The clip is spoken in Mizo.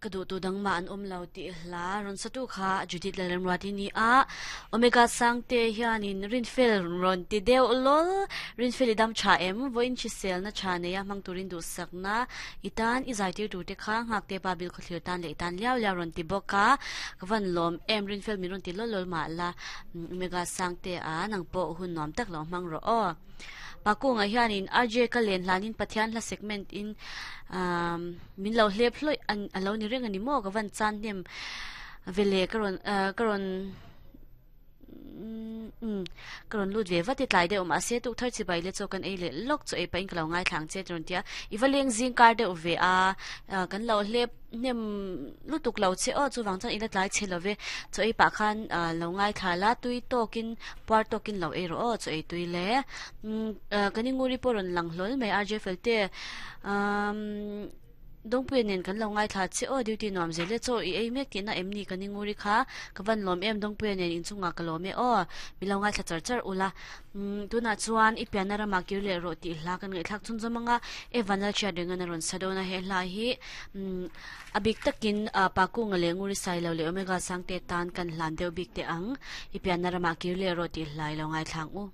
Ka duh tu dang mah an awm lo tih hla rawn satu kha Judith Lalremruati ni a, Omega Sangte hianin Rinfel rawn ti deuh lawl. Rinfel i dam tha em? Vawiin hriselna tha neia hmang turin duhsakna i tan i zaitir turte kha Nghakte pa bil khawthlir tan leh i tan liau liau rawn ti bawk a, ka van lawm em Rinfel min rawn ti lawl lawl mah la Omega Sangte a nang pawh hun nuam tak lo hmang rawh aw. Pakunga hianin RJ ka len hlanin Pathian hla segment in Min lo hlep hlawih a lo ni reng a ni maw? Ka van chan hnem ve le ka rawn ka rawn umm ka rawn lut ve vat i tlai deuh mahse tukthar chibai le chaw kan ei leh lawk chaw ei pahin ka lo ngaithla ang che ti rawn ti a, i va leng zing kar deuh ve a kan lo hlep hnem lutuk lo che aw chuvang chuan i la tlai chhe lo ve chaw ei pah khan lo ngaithla la tui tawkin puar tawkin lo ei rawh aw chaw ei tui le umm kan inguri pawh rawn lang hlawl mai RJ Felte. Umm Dawngpuia nen kan lo ngaithla che aw duty nuam zel e chaw i ei mek tihna em ni ka ni nguri kha ka van lawm em Dawngpuia nen inchungah ka lawm e aw mi lo ngaithla char char ula umm tunah chuan i pianna ramah kir leh rawh tih hla kan ngaihthlak chhunzawm anga Evan Lalchhiat rengan a rawn sa dawn a he hla hi umm a bik takin Pakunga leh Nguri Sailo leh Omega Sangte tan kan hlan deuh bik teh ang i pianna ramah kir leh rawh tih hla i lo ngaithla ang u.